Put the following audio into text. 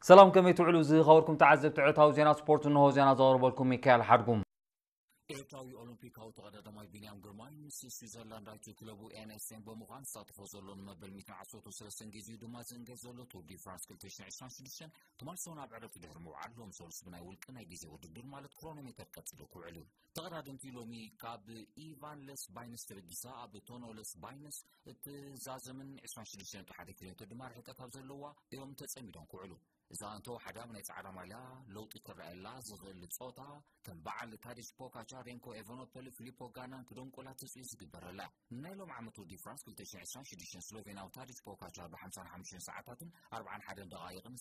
ሰላም፣ ከመይ ትውዕሉ ዝኸበርኩም ተዓዘብቲ ዕለታዊ ዜና ስፖርት? እንሆ ዜና ዘቕርበልኩም ሚካኤል ሓድጉም። ኤርትራዊ ኦሎምፒካዊ ተቐዳዳማይ ቢንያም ግርማይ ምስ ስዊዘርላንዳዊቱ ክለቡ ኤንኤስኤን ብምዃን ዝሳተፎ ዘሎ ንመበል ሚእትን ዓሰርተ ሰለስተን ግዜኡ ድማ ዝእንገድ ዘሎ ቱር ዲ ፍራንስ ክልተ ሽሕን ዕስራን ሽዱሽተን ትማል ሰሙን ኣብ ዕረፍቲ ድሕሪ ምውዓል ሎም ሰሉስ ብናይ ውልቂ ናይ ግዜ ውድድር ማለት ክሮኖሜተር ቀጺሉ ክውዕል እዩ። ተቐዳደምቲ ሎሚ ካብ ኢቫን ለስ ባይንስ ተበጊሳ ኣብ ቶኖ ለስ ባይንስ እትዛዘምን ዕስራን ሽዱሽተን ነጥቢ ሓደ ኪሎ ሜትር ድማ ርሕቀት ኣብ ዘለዋ እዮም ተጸሚዶም ክውዕሉ። እዛ እንተወሓዳ ኣብ ናይ ጻዕዳ ማልያ ለውጢ ክረኣየላ ዝኽእል ጾታ ከም በዓል ታዲች ፖካቻ፣ ሬንኮ ኤቨኖፐል፣ ፊሊፖ ጋናን ክደምቁላ ትጽቢት ዝግበረላ። ናይ ሎም ዓመት ቱር ዲ ፍራንስ ክልተ ሽሕን ዕስራን ሽዱሽተን ስሎቬንያዊ ታዲች ፖካቻ ብ ሓምሳን ሓሙሽተን ሰዓታትን ኣርባዓን ሓደን ደቓይቕን